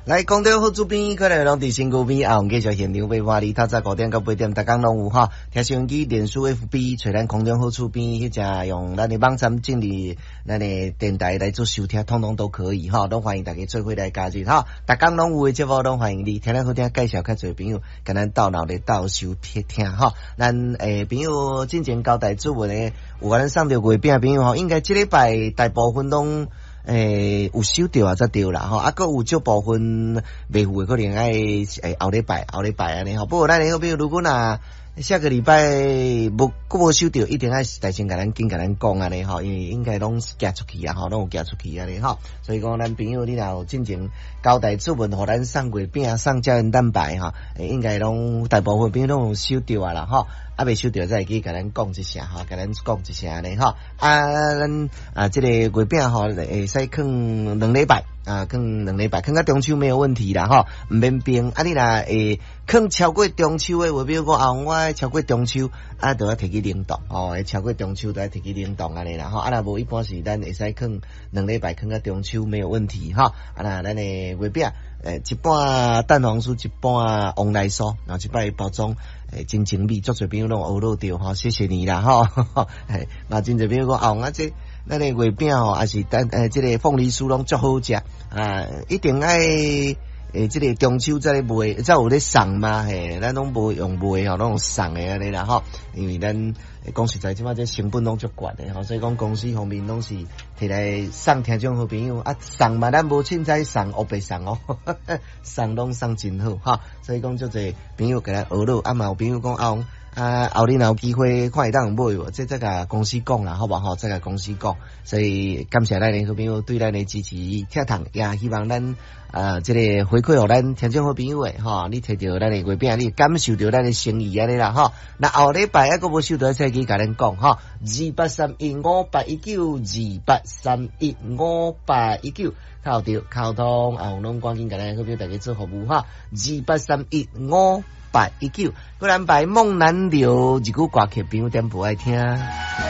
來講到好主編，可能攏佇身軀邊，啊，繼續現場八話，透早5點到8點，逐工攏有吼。聽收音機、臉書、FB，揣咱空中好厝邊，彼隻用咱的網站進入咱的電台來做收聽，統統都可以吼，攏歡迎大家做伙來加入吼。逐工攏有的節目，攏歡迎你聽咱好聽，介紹較濟朋友，共咱鬥鬧咧鬥收聽聽吼。咱朋友進前交代主文的，有共咱送著月餅的朋友吼，應該這禮拜大部分攏有收著啊，才對啦吼，啊，閣有少部分未付的，可能愛後禮拜、後禮拜按呢吼。不過咱的好朋友，如果若下個禮拜無閣無收著，一定愛代先共咱緊共咱講按呢吼，因為應該攏寄出去啊吼，攏有寄出去按呢吼。所以講，咱朋友你若有進前交代主文，予咱送月餅、送膠原蛋白吼，應該攏大部分朋友攏有收著啊啦吼。啊，未收著再會記共咱講一聲吼，共咱講一聲按呢吼。啊，咱啊，這個月餅吼會使囥兩禮拜啊，囥兩禮拜，囥到中秋沒有問題啦吼，毋免冰。啊，你若會囥超過中秋的話，比如講啊，我愛超過中秋，啊，就愛提去冷凍哦，會超過中秋就愛提去冷凍按呢啦吼。啊，若無一般是咱會使囥兩禮拜，囥到中秋沒有問題吼。啊，若咱的月餅，一半蛋黃酥，一半黃梨酥，然後一擺包裝。真精美，足濟朋友攏學落著吼，謝謝你啦吼。嘿，嘛真濟朋友講啊，啊這咱的月餅吼，抑是蛋這個鳳梨酥攏足好食啊，一定愛這個中秋才咧賣，才有咧送嘛嘿，咱攏無用賣吼，攏用送的按呢啦吼，因為咱講實在，這擺這成本攏足懸的吼，所以講公司方面攏是提來送聽眾好朋友啊，送嘛咱無凊彩送，烏白送哦，送攏送真好哈，所以講足濟朋友共咱學落，啊嘛有朋友講啊，啊後日若有機會看會當買無？這再共公司講啦，好無吼？再共公司講，所以感謝咱的好朋友對咱的支持，聽堂也希望咱啊，這個回饋予咱聽眾好朋友的吼，你提著咱的月餅，你感受著咱的誠意按呢啦吼。那後禮拜猶閣無收著，再去共咱講吼，28315819，28315819，敲著溝通啊，攏趕緊共咱好朋友大家做服務哈，28315819，閣安排夢南流一句歌曲，朋友點播愛聽。